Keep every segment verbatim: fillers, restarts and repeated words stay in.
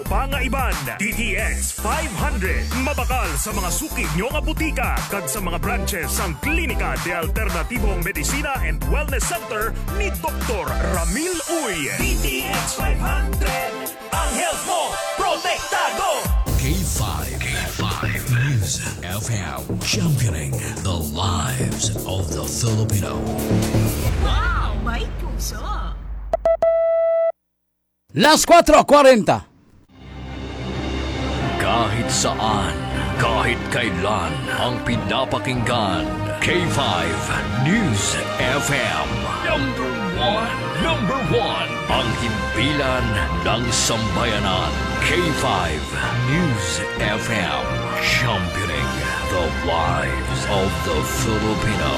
Pangaiban, D T X five hundred. Mabakal sa mga suki nyo nga butika kag sa mga branches sang Klinika de Alternatibong Medicina and Wellness Center ni Doktor Ramil Uy. D T X five hundred, ang health mo, protektado! K five, K five News F M, championing the lives of the Filipino. Wow, may puso! Las cuatro cuarenta. Kahit saan, kahit kailan, ang pinapakinggan, K five News F M. Number one, number one, ang himpilan ng sambayanan, K five News F M, championing the lives of the Filipino.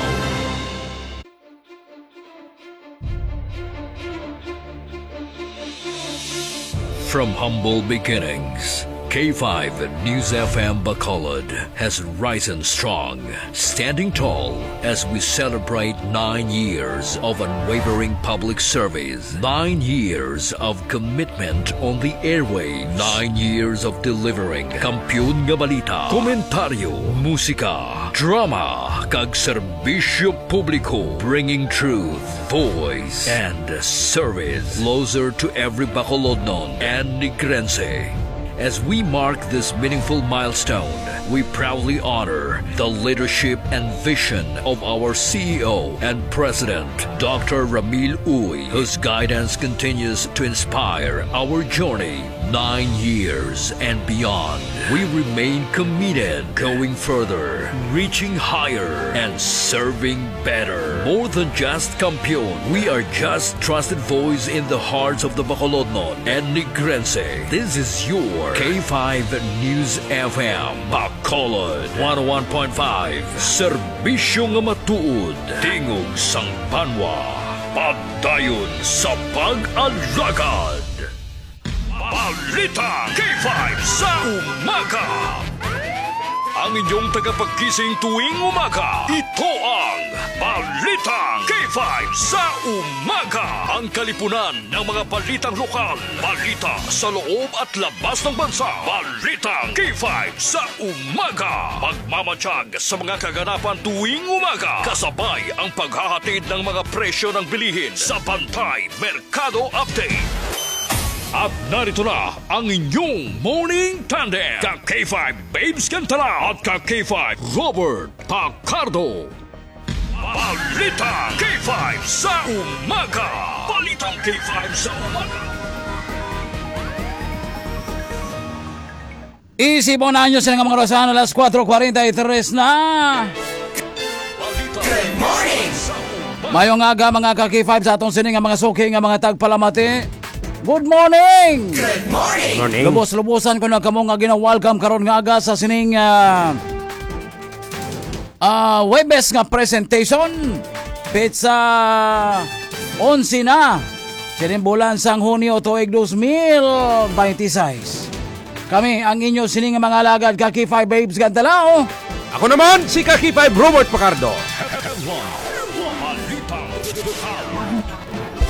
From humble beginnings, K five News F M Bacolod has risen strong, standing tall as we celebrate nine years of unwavering public service, nine years of commitment on the airwaves, nine years of delivering kampiyon nga balita, komentaryo, musika, drama, kag serbisyo publiko, bringing truth, voice, and service closer to every Bacolodnon and Negrense. As we mark this meaningful milestone, we proudly honor the leadership and vision of our C E O and President, Doctor Ramil Uy, whose guidance continues to inspire our journey nine years and beyond. We remain committed, going further, reaching higher, and serving better. More than just kampiyon, we are just trusted voice in the hearts of the Bacolodnon and Negrense. This is your K five News F M, Bacolod one oh one point five. Serbisyo nga matuod, tingog sang banwa, padayon sa pag-alagad. Balita K five sa umaga. Ang inyong tagapagkising tuwing umaga, ito ang Balita K five sa umaga. Ang kalipunan ng mga balitang lokal, balita sa loob at labas ng bansa. Balita K five sa umaga. Magmamatiyag sa mga kaganapan tuwing umaga, kasabay ang paghahatid ng mga presyo ng bilihin sa Bantay Merkado Update. At narito na ang inyong Morning Tandem, ka K five Babes Cantala at ka K five Robert Pacardo. Balita K five sa umaga. Balitang K five sa umaga. Isibon na nyo sila nga mga orasan, alas kuwatro kwarenta y tres na. Good morning! Mayong aga, mga ka K five, sa atong sini nga mga suki nga mga tagpalamati. Good morning! Good morning! Morning. Lubos-lubosan ko na kamo nga gina-welcome karon nga aga sa sining, ah, ah, Webes nga presentation. Petsa onse na sining bulan sang Hunyo tuig dos mil baynte sais. Kami ang inyo sini nga mga alagad, ka K five Babes Cantala. Ako naman, si ka K five Robert Pacardo.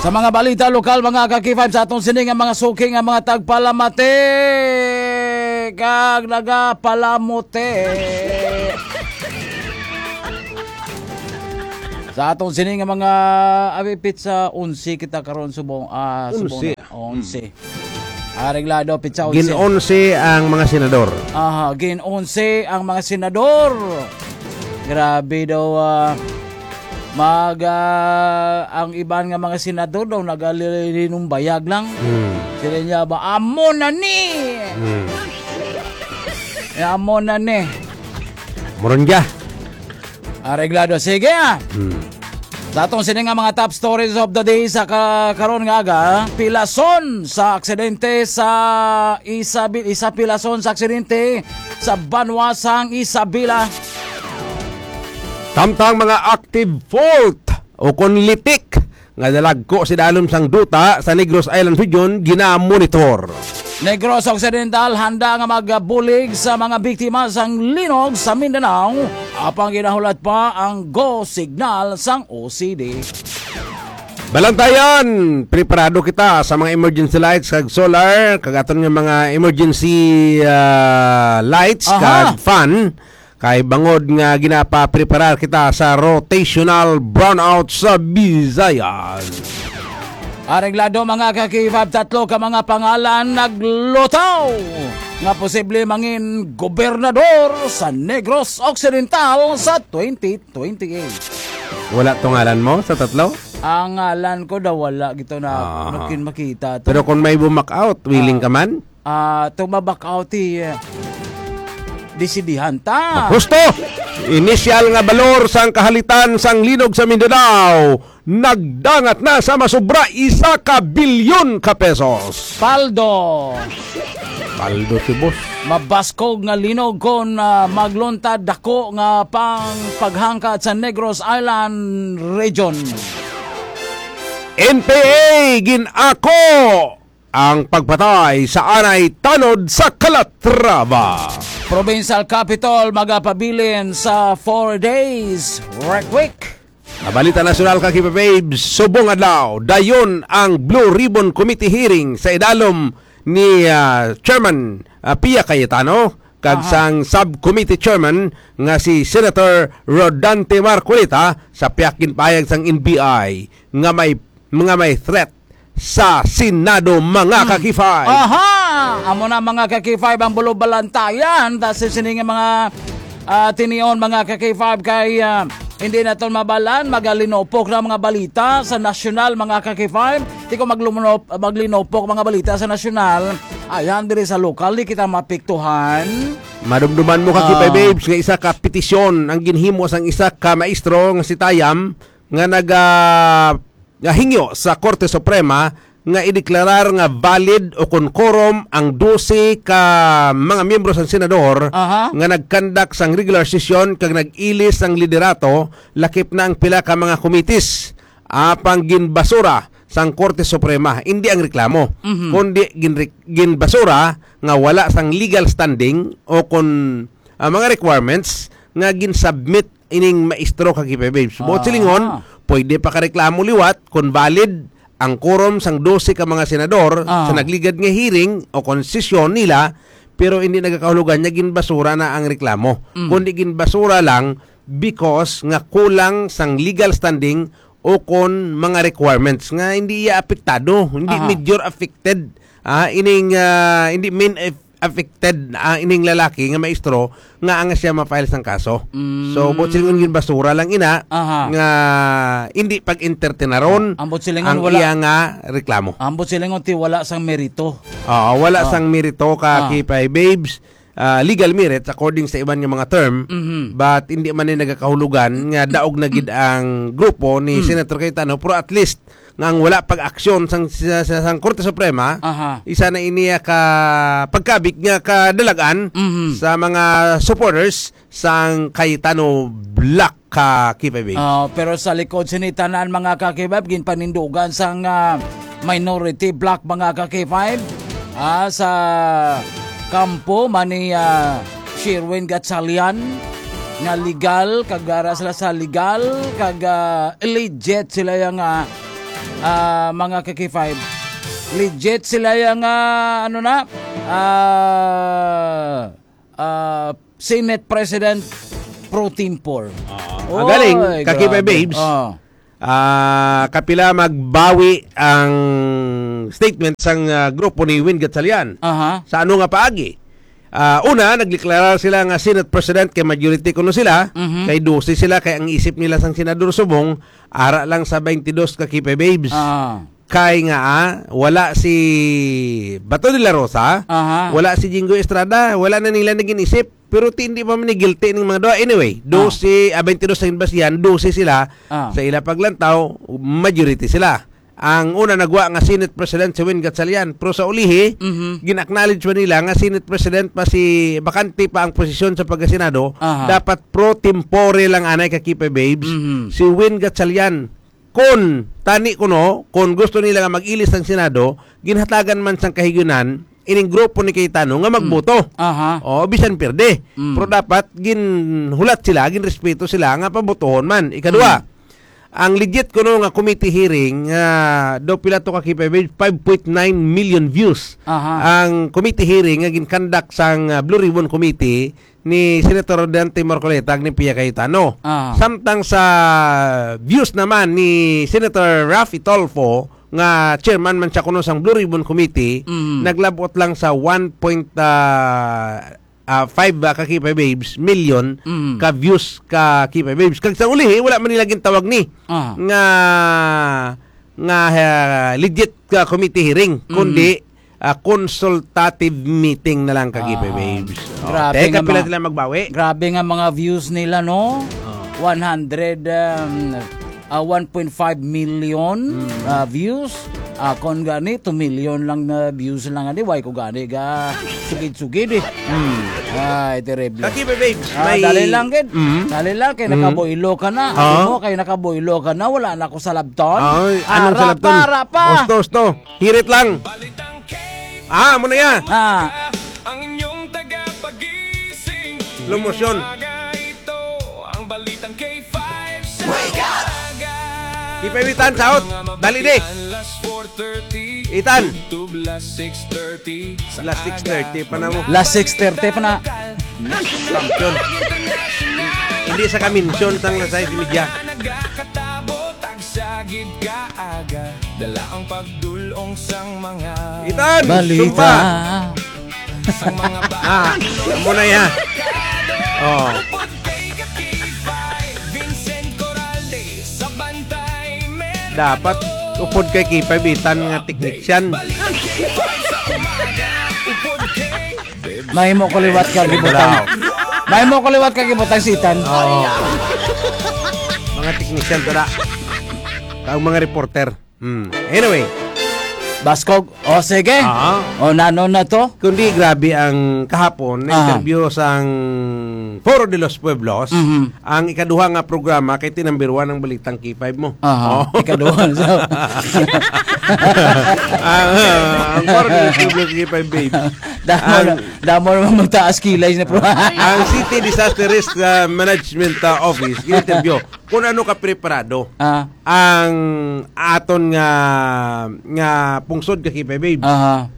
Sa mga balita lokal, mga ka K five, sa atong sini nga mga suki nga mga tagpalamati kag nagapalamuti. Sa atong sini nga mga, abi, petsa onse kita karon, subong, ah, subong Onse. na. O, onse. Areglado, petsa onse. Gin-onse ang mga senador. Aha, gin-onse ang mga senador. Grabe daw, ah, mag, ah, ang iban nga mga senador daw nagalilinumbayag lang. Hmm. Sila niya ba, "Amo na ni!" Hmm. Eh, amo na ni. Moron ka. Areglado. Sige, ah. Hmm. Sa atong sini nga mga top stories of the day sa ka-, karon nga aga, pilason sa aksidente sa Isabi-, isa pilason sa aksidente sa banwa sang Isabela. Samtang mga active fault o kon litik nga nalagko sa dalom sang duta sa Negros Island Region gina-monitor. Negros Occidental handa nga magbulig sa mga biktima sang linog sa Mindanao, apang ginahulat pa ang go signal sang O C D. Balantayan, preparado kita sa mga emergency lights kag solar, kag aton nga mga emergency, ah, lights Aha. kag fan. Kay bangod nga ginapapreparar kita sa rotational brownout sa Visayas. Areglado, mga ka-K five, tatlo ka mga pangalan nagluto nga posible mangin gobernador sa Negros Occidental sa twenty twenty-eight. Wala to ngalan mo sa tatlo? Ang ngalan ko daw wala gito na Ah. nakin makita to. Pero kung may bumak out, willing Ah. ka man? Ah, to ma-back out, eh, desidihan ta. Husto! Inisyal nga balor sang kahalitan sang linog sa Mindanao nagdangat na sa masubra isa ka bilyon ka pesos. Paldo. Paldo si boss. Mabaskog nga linog kon, ah, magluntad dako nga pang paghangkat sa Negros Island Region. N P A gin-ako ang pagpatay sa anay tanod sa Calatrava. Provincial Capitol magapabilin sa four days work week. Sa balita nasyonal, ka Kipa Babes, subong adlaw, dayon ang Blue Ribbon Committee hearing sa idalom ni, ah, Chairman, ah, Pia Cayetano kag Aha. sang Subcommittee Chairman nga si Senator Rodante Marcoleta sa pihak ginpahayag sang N B I nga may, nga may threat sa Senado, mga Hmm. ka-K five. Aha! Amo na, mga ka-K five, ang bulobalantayan. Dahil sa sini nga mga, ah, tinion, mga ka-K five, kay, ah, hindi naton mabalan, magalinopok na mga balita sa nasyonal, mga ka-K five. Di ko maglumno-, maglinopok mga balita sa nasyonal. Ayan, diri sa lokal, di kita mapiktuhan. Madumduman mo, ka-K five Ah. Babes, nga isa ka petisyon ang ginhimo sang isa ka maestro nga si Tayam nga nag, ah, nga hingyo sa Korte Suprema nga ideklarar nga valid o kon quorum ang dose ka mga miyembro sang senador Aha. nga nagkandak sang regular session kag nag-ilis sang liderato, lakip na ang pila ka mga komitis. Apang ginbasura sang Korte Suprema, hindi ang reklamo, Mhm. kundi ginre-, ginbasura nga wala sang legal standing o kon, ah, mga requirements nga ginsubmit ining maestro, ka Kipe Babes. Buot Ah. silingon, pwede pa ka reklamo liwat kon valid ang quorum sang dose ka mga senador Ah. sa nagligad nga hearing o kon sesyon nila, pero hindi nagakahulugan nga ginbasura na ang reklamo. Mm. Kundi ginbasura lang because nga kulang sang legal standing o kon mga requirements nga hindi iya apektado, hindi Aha. major affected, ah, ining, ah, hindi main eff-, affected, ah, ining lalaki nga maestro nga ang siya ma-file sang kaso. Mm. So, buot silingon, ginbasura lang ina Aha. nga hindi pag-entertaineron Ang buot silingon, ang wala. iya nga reklamo. Ang buot silingon, ti wala sang merito. Oo, wala Ah. sang merito, ka Ah. Kipe Babes. Ah, legal merits according sa iban nga mga term, Mhm. but hindi man ni nagakahulugan nga daog na gid ang grupo ni Mm. Senator Cayetano, pero at least nga ang wala pag-aksyon sang, sa, sa, sang Korte Suprema, Aha. isa na ini ka pagkabig nga kadalagan Mhm. sa mga supporters sang Cayetano bloc, ka Kipe Babes. Ah, pero sa likod sini tanan, mga ka-K five, ginpanindugan sang, ah, minority bloc, mga ka-K five. Ah, sa kampo man ni, ah, Sherwin Gatchalian, nga legal, kag ara sila sa legal, kag, ah, legit sila yang, ah, ah, mga ka-K five. Legit sila yang, ah, ano na, ah, ah, Senate President pro tempore. Ah, Oy, ang galing, ka Kipe grabe. Babes. Ah. Ah, kapila magbawi ang statement sang, ah, grupo ni Win Gatchalian. Aha. Sa ano nga paagi? Ah, una, nagdeklarar sila nga Senate President kay majority kuno sila, Mhm. kay dose sila, kay ang isip nila sang Senador subong, ara lang sa twenty-two, ka Kipe Babes. Ah. Kay nga, ah, wala si Bato de la Rosa, Aha. wala si Jinggoy Estrada, wala na nila naging isip. Pero ti, hindi pa man ni guilty ning mga duha. Anyway, Ah. dose, ah, twenty-two ang basihan, dose sila Ah. sa ila paglantaw, majority sila. Ang una nagwa nga Senate President si Win Gatchalian, pero sa ulihi, Mhm. gin-acknowledge man nila nga Senate President pa si, bakante pa ang posisyon sa pagkasenado, Aha. dapat pro tempore lang anay, ka Kipe Babes, Mhm. si Win Gatchalian. Kon tani kuno, kon gusto nila nga mag-ilis ang Senado, ginhatagan man sang kahigayonan ining grupo ni Cayetano nga magboto. Mm. Aha. O, bisan pierde. Mm. Pero dapat ginhulat sila, ginrespeto sila nga pabotohon man. Ikaduha, Mm. Ang legit kuno nga committee hearing, ah, daw pila to ka, K five Babes, five point nine million views. Aha. Ang committee hearing nga gin-conduct sang, ah, Blue Ribbon Committee ni Senator Dante Marcoleta kag ni Pia Cayetano. Aha. Samtang sa views naman ni Senator Raffy Tulfo, nga chairman man siya kuno sang Blue Ribbon Committee, Mm. naglabot lang sa one point, ah, ah, five, ah, ka K five Babes, million Mm. ka views ka K five Babes. Kag sa ulihi, wala man nila gintawag ni Ah. nga, nga, ah, legit ka committee hearing, Mm. kundi, ah, consultative meeting na lang ka K five Ah. Babes. Oh, Grabe teka, nga pila mga, sila magbawi? grabe nga mga views nila, no? Oh. One hundred, um, ah, one point five million, Mm. ah, views. Ah, kon gani, two million lang na views lang gani. Why ko gani ga sugid-sugid eh. Mm. Ay, terrible. Kaki, babes, Ah, may dali lang, gid. Mm. Dali lang, kay Mm. nakaboylo ka na. Ah. Alam mo, kay nakaboylo ka na, wala na ako sa labton. Ay, anong Ara sa labton? pa, ara pa. Osto, osto. Hirit lang. Ah, amo na ya. Ah. Ang inyong tagapagising. Slow motion. Umaga ito, ang balitang K five sa Wake up! Umaga. Di pa, Itan, saot. Dali, di. Mga mabatian, last four thirty. Itan. YouTube, last six thirty. Sa Last six thirty aga, pa na mo. mga Last six thirty pa na. Champion. Hindi sa ka-mention sang last six media. Nagakatabo, tagsagid ka aga. Dala ang pagdulong sang mga Itan, Balita. sumpa. Sang mga Ah, amo na ya. Oh. Upod kay K five, Vincent Coralde, sa Bantay, Mega Dapat Dog. upod kay K five, Itan, nga technician. Balik K five sa umaga. Upod kay Mahimo ko liwat ka gibutang. Wow. Mahimo ko liwat ka gibutang si Itan. Oh. Mga technician to da. Ang mga reporter. Hmm. Anyway. Baskog. O, sige. Ah. O, nano na to? Kundi grabe ang kahapon na Ah. interview sang Foro de los Pueblos, Mhm. ang ikaduha nga programa kay ti number one ang balitang K five mo. Aha. Oh. Ikaduha sa Ang, ah, ang Foro de los Pueblos K five, babes. Damo Ang na, damo naman magtaas kilay na pro. Ang City Disaster Risk, ah, Management, ah, Office, interview. Kung ano ka preparado. Ah. ang aton nga, nga pungsod ka, K five, babes. Aha.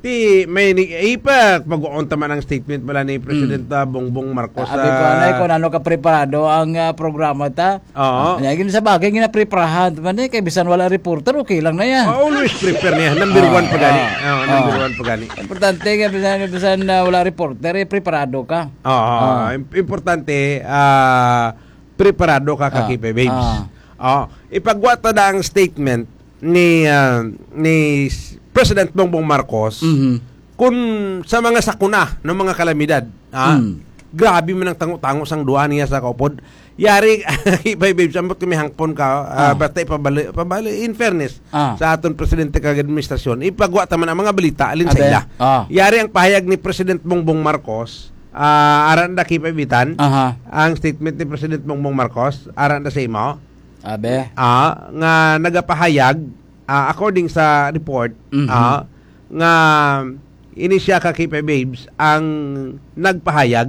Ti, may ni-, ipa, pag-uon ta man ang statement bala ni President, Mm. ah, Bongbong Marcos, Abi ko, ah, anay, kung ano ka preparado ang, ah, programa ta. Oo. Nya, gid sa bagay, ginapreparahan man eh, kay bisan wala reporter, okay lang na yan. Ah, always prepare niya. Number Ah, one pa gani. ah, Ah, number ah. one pa gani. Importante nga bisan, bisan, ah, wala reporter, eh, preparado ka. Oo, Ah. im-, importante, ah, preparado ka, ka Ah, K five, babes. ah. Oh, ipagwa ta na ang statement ni, ah, ni s-, President Bongbong Marcos Mhm. kung sa mga sakuna ng mga kalamidad, ah, Mm. grabe man ang tango-tango sang duha niya sa kaupod. Yari, K five, babes, ambot kami hangpon ka, ah, Ah. basta ipabali, pabali, in fairness Ah. sa aton presidente kag administrasyon, ipagwa ta man ang mga balita, alin sa Abe. ila. Ah. Yari ang pahayag ni President Bongbong Marcos, ah, aran da, K five, Itan, Aha. ang statement ni President Bongbong Marcos, aran da sa imo, Abe. ah, nga nagapahayag, ah, according sa report, Mhm. ah, nga ini siya ka K five, babes, ang nagpahayag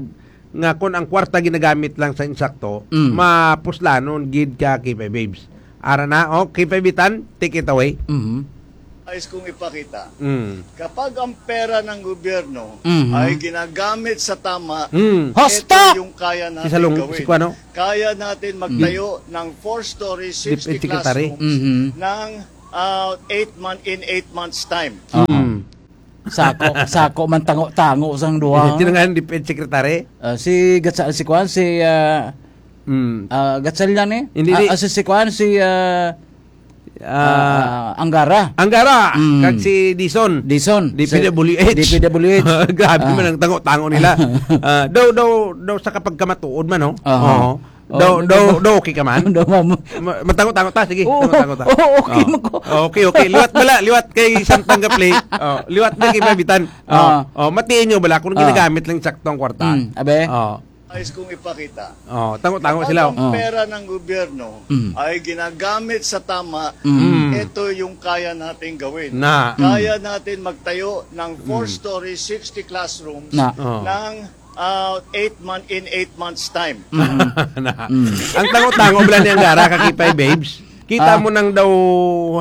nga kung ang kwarta ginagamit lang sa insakto, Mm. mapuslanon gid ka K five, babes. Ara na, oh, K five, Itan, take it away. Mhm. Nais kong ipakita, Mm. kapag ang pera ng gobyerno Mhm. ay ginagamit sa tama, Mm. Hosto! ito yung kaya Si natin Salong-, gawin. si Kuano? Kaya natin magtayo Mm. ng four-story, Dep-, sixty Secretary. classrooms Mhm. ng, ah, eight month, in eight months time. Oo. Mm. Sako, sako man tango-tango sang duha. Sino nga ang DepEd Secretary? Ah, si Gatsa-, si Kuan, si, ah, Mm. ah, Gatchalian eh? Hindi, Ah, di. ah, si, si Kuan, si, ah, Ah, ah, Angara. Angara, Mm. kag si Dizon. Dizon. D P W H. Sa D P W H. Grabe Ah. man ang tango-tango nila. Ah, daw, daw, daw sa kapagkamatuod man, no? Aha. Oo. Oh, Daw, daw, daw, daw, daw okay ka man? Daw, ma'am. Ma-, matango-tango ta, sige. Oo, Tango-tango ta. oo, okay Oh. man ko. Oh, okay, okay. Liwat bala, liwat kay Samtang Gaplay. Oh, liwat na kay Mabitan. Oh, Ah. oh, matiin nyo bala kung Ah. ginagamit lang sakto ang kwarta. Mm, abe. Oh. Nais kong ipakita. Oh, tango-tango Kapag sila, oh. ang Oh. pera ng gobyerno Mm. ay ginagamit sa tama, Mm. ito yung kaya nating gawin. Na. Mm. Kaya natin magtayo ng Mm. four-story, sixty classrooms Na. Oh. ng uh, eight month in eight months time. Na. Ang tango-tango bala niyang gara, kakipay babes. Kita Ah. mo nang daw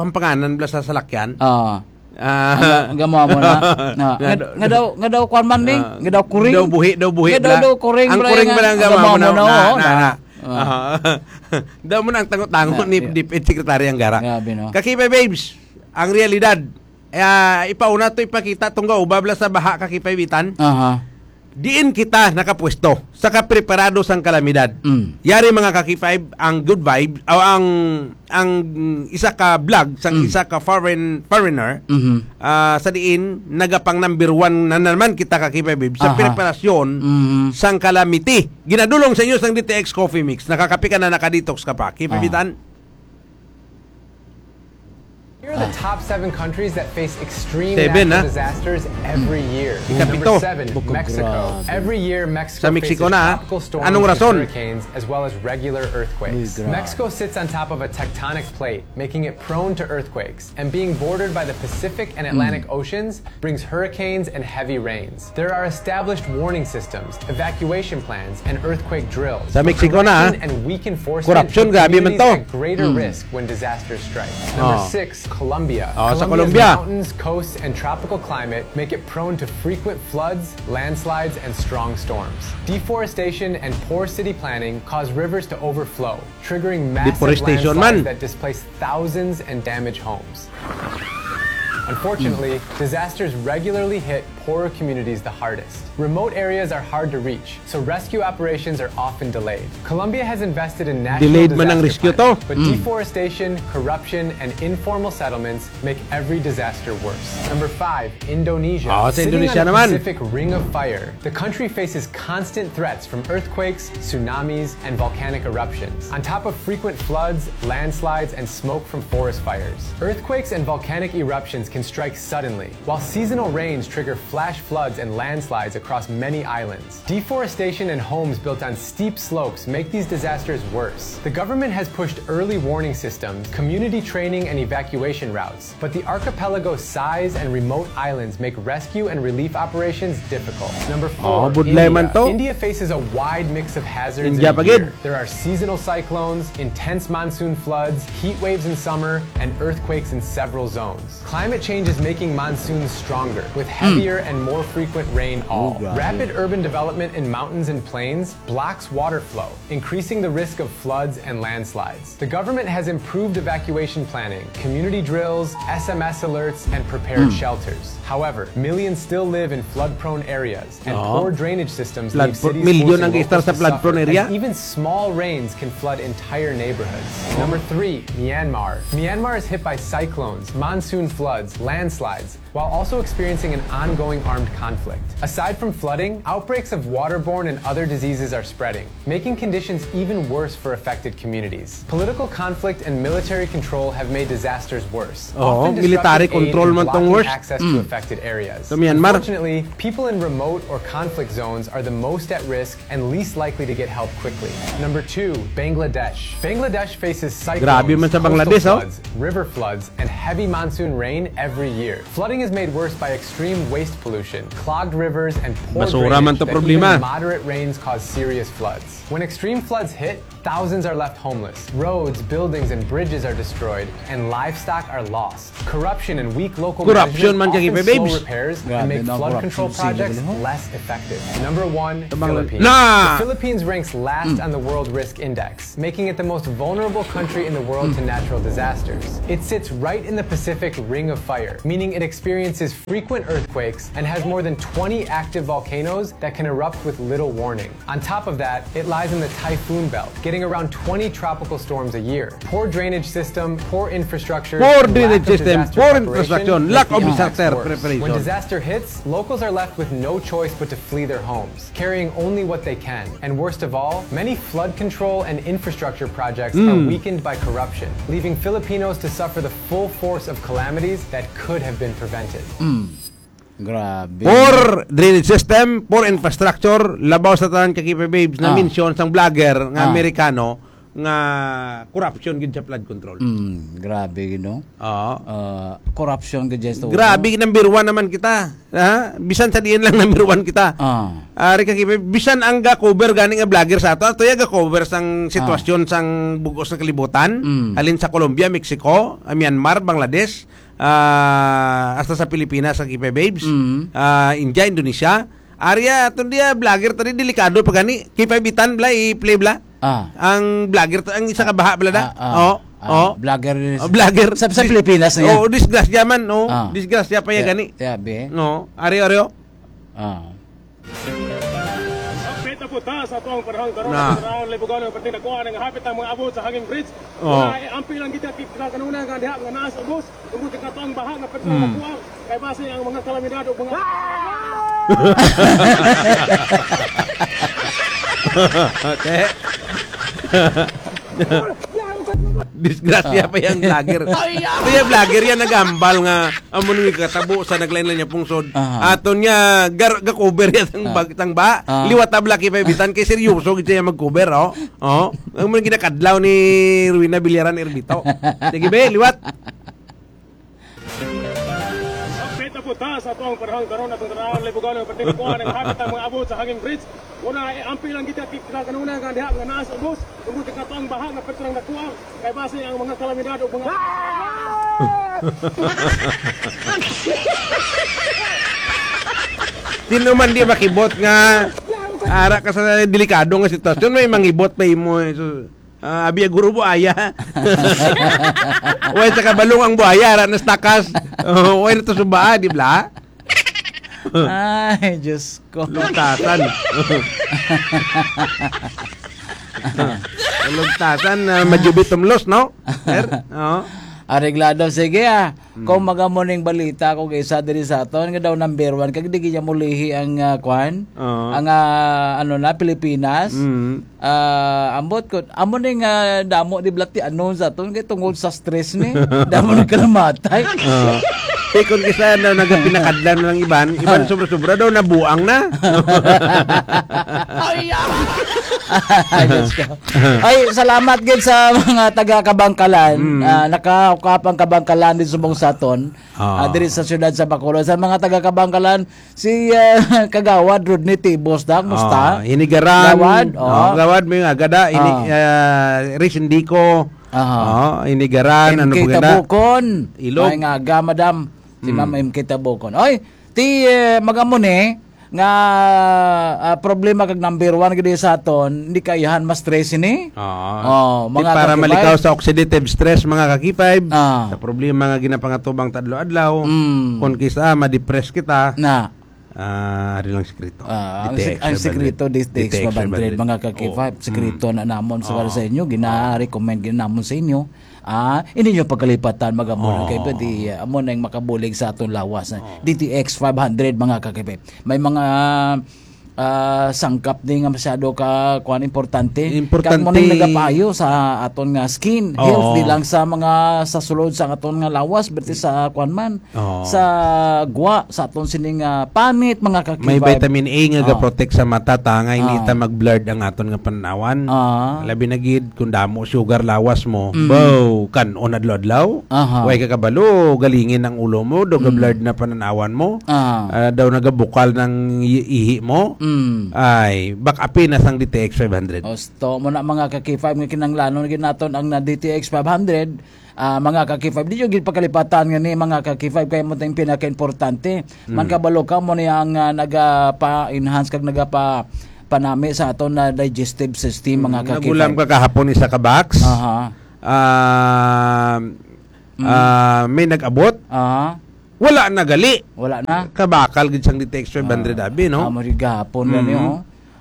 hampanganan bala sa salakyan. Ah. Ah. Ang, ang gamo mo na. Na. Nga, nga daw, nga daw kwan man ni, Ah. nga daw kuring. Daw buhi, daw buhi Nga daw, bala. Daw kuring Ang bala kuring nga, bala ang ang gamo gamo mo na, na, na, oh, na, na. na. Ah. Ah. Daw mo na ang tango-tango Na, ni yeah. DepEd Secretary ang gara. Grabe, no? Kakipay babes, ang realidad, ah, ipauna to ipakita tong gaubab la sa baha, kakipay bitan. Aha. Diin kita nakapwesto sa kapreparado sang kalamidad. Mm. Yari, mga kakipay, ang good vibe o ang, ang isa ka vlog sang Mm. isa ka foreign, foreigner, Mhm. ah, sa diin nagapang number one na naman kita, kakipay babe, sa Aha. preparasyon Mhm. sang calamity. Ginadulong sa inyo sang D T X Coffee Mix. Nakakape ka na, nakadetox ka pa. Kakipay Ah. bitan. Here are the Ah. top seven countries that face extreme Seven, natural ah? disasters every year. Ikapito. Number seven, Bukog Mexico. Grabe. Every year, Mexico Sa Mexico faces na, ah? tropical storms Anong and rason? hurricanes, as well as regular earthquakes. Uy, grabe. Mexico sits on top of a tectonic plate, making it prone to earthquakes. And being bordered by the Pacific and Atlantic Mm. Oceans brings hurricanes and heavy rains. There are established warning systems, evacuation plans, and earthquake drills. Sa Mexico na, ah. But corruption and weak enforcement Corruption, put grabe man communities to. at greater Mm. risk when disasters strike. Number Oh. six, Colombia. Oh, sa Colombia's Colombia. mountains, coasts, and tropical climate make it prone to frequent floods, landslides, and strong storms. Deforestation and poor city planning cause rivers to overflow, triggering massive Deforestation landslides man. that displace thousands and damage homes. Unfortunately, Hmm. disasters regularly hit poorer communities the hardest. Remote areas are hard to reach, so rescue operations are often delayed. Colombia has invested in national Delayed man ang disaster rescue to. planning, but Hmm. deforestation, corruption, and informal settlements make every disaster worse. Number five, Indonesia. Ah, sa Sitting Indonesia on a naman. Pacific Ring of Fire, the country faces constant threats from earthquakes, tsunamis, and volcanic eruptions, on top of frequent floods, landslides, and smoke from forest fires. Earthquakes and volcanic eruptions can strike suddenly, while seasonal rains trigger flash floods and landslides across many islands. Deforestation and homes built on steep slopes make these disasters worse. The government has pushed early warning systems, community training, and evacuation routes, but the archipelago's size and remote islands make rescue and relief operations difficult. Number four, Oh, budlay India. man to. India faces a wide mix of hazards India in a pa gid. year. There are seasonal cyclones, intense monsoon floods, heat waves in summer, and earthquakes in several zones. Climate change is making monsoons stronger, with Hmm. heavier and more frequent rain. Oh, All grabe. Rapid urban development in mountains and plains blocks water flow, increasing the risk of floods and landslides. The government has improved evacuation planning, community drills, S M S alerts, and prepared Hmm. shelters. However, millions still live in flood-prone areas, and Oo. poor drainage systems Flood leave pro-, cities milyon more ang than istar locals sa to flood prone suffer, area. As even small rains can flood entire neighborhoods. Number three, Myanmar. Myanmar is hit by cyclones, monsoon floods, landslides, while also experiencing an ongoing armed conflict. Aside from flooding, outbreaks of waterborne and other diseases are spreading, making conditions even worse for affected communities. Political conflict and military control have made disasters worse, Oo, often military disrupting aid control and man tong blocking worst. access to Mm. affected areas. Sa Myanmar. Unfortunately, people in remote or conflict zones are the most at risk and least likely to get help quickly. Number two, Bangladesh. Bangladesh faces cyclones, Grabe man sa coastal Bangladesh, oh. floods, river floods, and heavy monsoon rain every year. Flooding is made worse by extreme waste pollution, clogged rivers, and poor Basura man drainage to that problema. even moderate rains cause serious floods. When extreme floods hit, thousands are left homeless. Roads, buildings, and bridges are destroyed, and livestock are lost. Corruption and weak local Corruption management man kay often babes. slow repairs Grabe and make na, flood corruption control sa projects Cebu, no? less effective. Number one, Tabang Philippines. Na! The Philippines ranks last Mm. on the World Risk Index, making it the most vulnerable country in the world to Mm. natural disasters. It sits right in the Pacific Ring of Fire, meaning it experiences frequent earthquakes and has more than twenty active volcanoes that can erupt with little warning. On top of that, it lies in the typhoon belt, getting around twenty tropical storms a year. Poor drainage system, poor infrastructure, Poor and lack drainage of system, disaster poor preparation infrastructure, make lack the of impacts disaster worse. preparation. When disaster hits, locals are left with no choice but to flee their homes, carrying only what they can. And worst of all, many flood control and infrastructure projects are Mm. weakened by corruption, leaving Filipinos to suffer the full force of calamities that could have been prevented. Mm. Grabe. Poor drainage system, poor infrastructure, labaw sa tanan, kakipay babes, na Ah. mention sang vlogger nga Ah. Amerikano, nga corruption gid sa flood control. Mm, grabe, no? Oo. Ah, corruption gid sa Grabe, number one naman kita. Ha? Bisan sa diin lang number one kita. Ah. Ari ka, Kipe, bisan ang ga-cover gani nga vlogger sa ato, ato ya ga-cover sang Ah. sitwasyon sang bugos nga kalibutan, Mm. halin sa Colombia, Mexico, ah, Myanmar, Bangladesh, ah, hasta sa Pilipinas, ang Kipe Babes, Mm. ah, India, Indonesia. Ari ya, aton diya, vlogger tani, delikado pa gani. Kipe, bitan bla, i-play bla. Ah. Ang vlogger to, ang isa ka baha bla da. Ah, ah. Oh, Ah, oh. vlogger ni Oh, vlogger. Sa, sa Dis- Pilipinas na yan. Oh, disgrasya man, oh. Ah. Disgrasya pa ya Tiya-, gani. tiyabi. No, ari, ari, oh. Ah. Hapit na po ta sa atong panahon karon, Na. Sa panahon, libugan ang pati nakuha nga hapit ang mga abot sa hanging bridge. Oh. Wala, eh, amping lang kita, kita kanuna nga diha nga naa sa ubos. Tungod sa katong baha nga pati Hmm. nakuha. Kay basi ang mga kalamidad o mga Te. Disgrasya Ah. pa yang vlogger. Ay, ah. Kaya vlogger yan nagambal nga amo nang ikatabo sa naglain-lain niya pungsod. Aha. Aton niya gar ga-cover yan ang Ah. bag tang ba. Ah. Liwat tabla kay bitan kay seryoso gid siya mag-cover, oh. Oh. Ang mga ginakadlaw ni Ruina Villaran Erbito. Sige be, liwat. Hapit na po ta sa atong panahon karon, atong tanawon, libugan ang pati nakuha nga hapit ang mga abot sa hanging bridge. Una, eh, amping lang kita, kita kanuna nga diha nga naa sa ubos. Tungod sa katong baha nga pati lang nakuha. Kay basi ang mga kalamidad o mga Sino man di makibot nga ara ka sa delikado nga sitwasyon, may mangibot pa imo, eh. So, ah, abi, guro, buaya. Way sa kabalong ang buaya, ara na sa takas. Oh, way na to subaa, di bla? Ay, Diyos ko. Lugtasan. Lugtasan, ah, majubi tumlos, no? Sir? Oo. Areglado, sige, ah. Mm. Kung magamo ning balita, kung isa diri sa aton, nga daw number one, kag di gid niya mulihi ang, ah, kwan? Oo. Ang, ah, ano na, Pilipinas? Mm. Ah, ambot ko, amo ni nga damo di blati anon sa aton kay tungod sa stress ni. Damo ni kalamatay. Ah. Kay kung kisa daw nagapinakadlan ng iban, iban Ah. sobra-sobra daw nabuang na. Ay, ah. Ay, Diyos ko. Ay, salamat gid sa mga taga Kabangkalan. Mm. Ah, nakaukap ang Kabangkalan din subong sa aton. Ah. Ah, diri sa siyudad sa Bacolod. Sa mga taga Kabangkalan, Si, ah, Kagawad Rodney Tibos, da, kumusta? Ah, Hinigaran. Gawad, Oh, oh. Gawad, may nga gada, ini, Ah. ah, Riz Indico. Aha. Oh, Hinigaran, ano M K pa ganda? Tabukon. Ilog. May nga ga, madam. Si Hmm. Ma'am M K Tabukon. Oy, ti, eh, magamo ni, nga, ah, problema kag number one gid sa aton, hindi kaihan mas stress ini. Ah. Oh, Di mga para kakibay. malikaw sa oxidative stress, mga kakipay, Ah. sa problema nga ginapangatubang ta adlaw-adlaw, Mm. kung kisa ma-depress kita, Na. Ah, ari lang sikreto. Ah, ang D T X sek-, ang five hundred. Sikreto, D T X five hundred, mga ka-K five. Oo. Sikreto Mm. na namon sa, Oo. sa inyo, gina-recommend gid namon sa inyo. Ah, hindi nyo pagkalipatan, mag-amo lang Oo. kayo, pwede, ah, amo na yung makabulig sa atong lawas. Oo. D T X five hundred, mga ka-K five. May mga, ah, sangkap din nga masyado ka, kuwan, importante. Importante. Kag mo nang nagapayo sa aton nga skin, Oo. health, di lang sa mga, sa sulod sa aton nga lawas, pati sa, kuwan man, Oo. sa gwa, sa aton sining, ah, panit, mga kakibay. May vitamin A nga Ah. ga-protect sa mata, ta nga hindi Ah. ta mag-blurred ang aton nga pananawan. Ah. Labi na gid kung damo sugar lawas mo. Mm. Bow, kan-on adlaw-adlaw. Aha. Way ka kabalo, galingin ang ulo mo, do Mm. ga-blurred na pananawan mo. Ah. Ah, daw nagabukal ng i-, ihi mo. Mm. Ay, back up na sang D T X five hundred. Osto mo na, mga ka-K five, nga kinahanglanon gid naton ang na D T X five hundred. Ah, mga ka-K five, di nyo gid pakalipatan nga ni, mga ka-K five, kay mo tang pinakaimportante. Man Mm. kabalo ka mo ni ang, ah, nagapa-enhance kag nagapa-, panami sa aton na digestive system, mga Mm, ka-K five. Nagulam ka kahapon isa ka box. Aha. Ah, Mm. ah, may nag-abot. Aha. Wala na gali. Wala na. Kabakal gid sang D T X five hundred Ah, abi, no? amo rin gahapon na Mm. niyo, oh.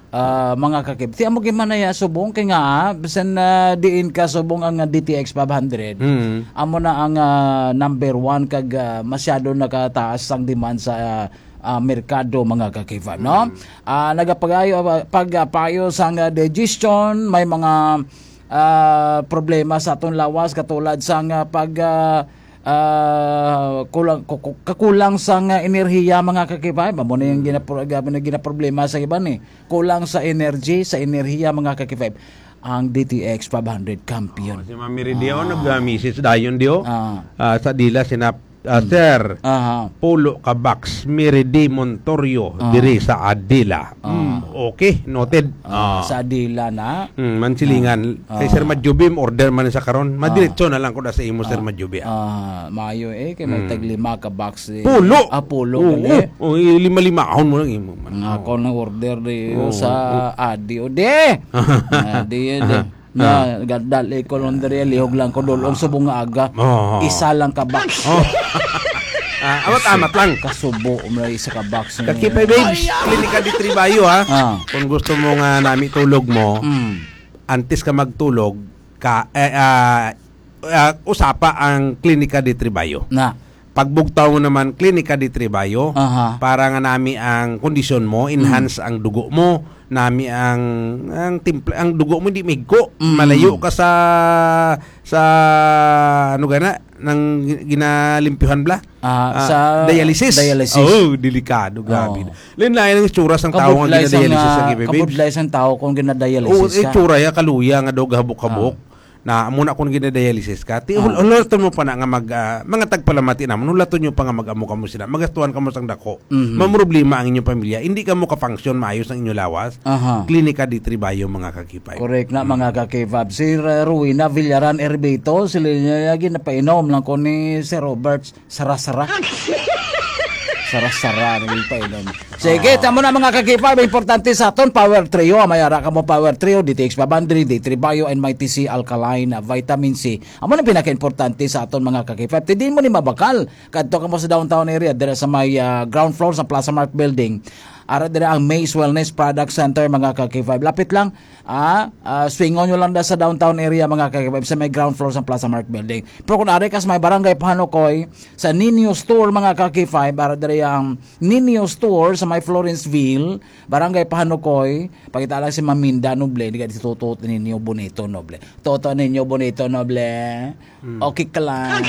Ah, mga kakib-, ti amo gid man na ya subong kay nga, ah, bisan na diin ka subong ang, ah, D T X five hundred, Mm. amo na ang, ah, number one kag, ah, masyado nakataas ang demand sa, ah, ah, merkado, mga kakib-, no? Mm. Ah, nagapagayo, ah, pag, ah, payo sa nga digestion, may mga, ah, problema sa atong lawas katulad sa nga pag, ah, ah, kulang, ku-, ku-, kakulang sa nga enerhiya, mga kakibay. Amo na yung Mm. ginapro-, gina-, ginaproblema sa iban, eh. Kulang sa energy, sa enerhiya, mga kakibay. Ang D T X five hundred Campion. Oh, si Ma'am Miridio, Ah. nag-message dayon, Dio. Ah. Ah, sa dila, sina, ah, Hmm. Sir, Aha. pulo ka box, Miridi Montorio, Ah. diri sa Adila. Ah. Hmm, okay, noted. Ah, Ah. sa Adila na. Hmm, Mansilingan. Ah. Kay Sir Ah. Madjubim, order man sa karon. Ah. Madiretso na lang ko na sa imo, Sir Ah. Madjubi, ah. Ah, maayo eh, kay may Hmm. taglima ka box eh. Pulo! Ah, pulo Oo, gali. oo, eh, lima-lima, ahon mo lang imo man. Nga Oo. ako nang order di Oo, sa oo. Adi, o di! Ah, di, di. Aha. Na, Aha. gadali ko lang diri, lihog lang ko dulong subong nga aga. Oo. Isa lang ka box. Oh. Ah, amat-amat lang. Kasubo, may isa ka box. Kakipay, babes, Klinika di Tribayo, ha? Ah. Kung gusto mo nga nami tulog mo, Mm. antes ka magtulog, ka, eh, ah, ah, usapa ang Klinika di Tribayo. Na. Pagbugtaw mo naman, Klinika di Tribayo, Aha. para nga nami ang kondisyon mo, Mm. enhance ang dugo mo, nami ang, ang timpla, ang dugo mo di migko. Mm. Malayo ka sa, sa, ano gana, nang gi-, ginalimpyuhan bla? Ah, Ah, sa dialysis. dialysis. Oh, delikado, grabe. Oo. Lain-lain ang itsura sang tao nga Kabudlay sang, ginadialysis sa ah, K P babes. kabudlay sang tao kung ginadialysis Oo, ka. itsura ya, kaluya nga daw gahabok-habok. Ah. Na amo na kung ginadialysis ka, ti-, Ah. hul-, hulaton mo pa na nga mag, ah, mga tagpalamati naman, hulaton nyo pa nga mag-amo kamo sila, magastuhan kamo sang dako. Mhm. Mamroblema ang inyong pamilya, hindi kamo ka-function maayos ang inyong lawas. Aha. Klinika di Tribayo, mga kakipay. Correct na, Mm. mga kakipab. Si Ra-, Rowena Villaran Erbito, sila niya, ginapainom lang ko ni Sir Roberts. Sara-sara. Sara-sara, naging painom. Sige, Ah. tamo na, mga kakipab, importante sa aton, Power Trio. May ara ka mo, Power Trio, D T X five hundred, D three Bio, and Mighty C Alkaline, ah, Vitamin C. Amo na pinaka-importante sa aton, mga kakipab. Ti di mo ni mabakal. Kadto ka mo sa downtown area, dira sa may, ah, ground floor sa Plaza Mart Building. Ara dira ang Maze Wellness Product Center, mga kakipab. Lapit lang, Ah, ah, swingon nyo lang da sa downtown area, mga ka-K five, sa may ground floor sa Plaza Mart Building. Pero kung ari ka sa may Barangay Pahanukoy, sa Nino Store, mga ka-K five, para diri ang Nino Store sa may Florenceville, Barangay Pahanukoy, pakita lang si Maminda Noble, di ka si Toto Nino Bonito Noble. Toto Nino Bonito Noble, Mm. okay ka lang.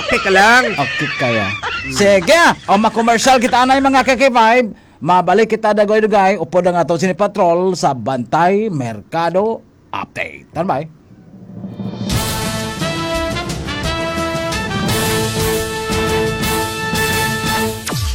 Okay ka lang. Okay kaya. Mm. Sige, o ma-commercial kita anay, mga ka-K five. Mabalik kita dagway-dugay, upod ang ato sini patrol sa Bantay Merkado Update. Standby.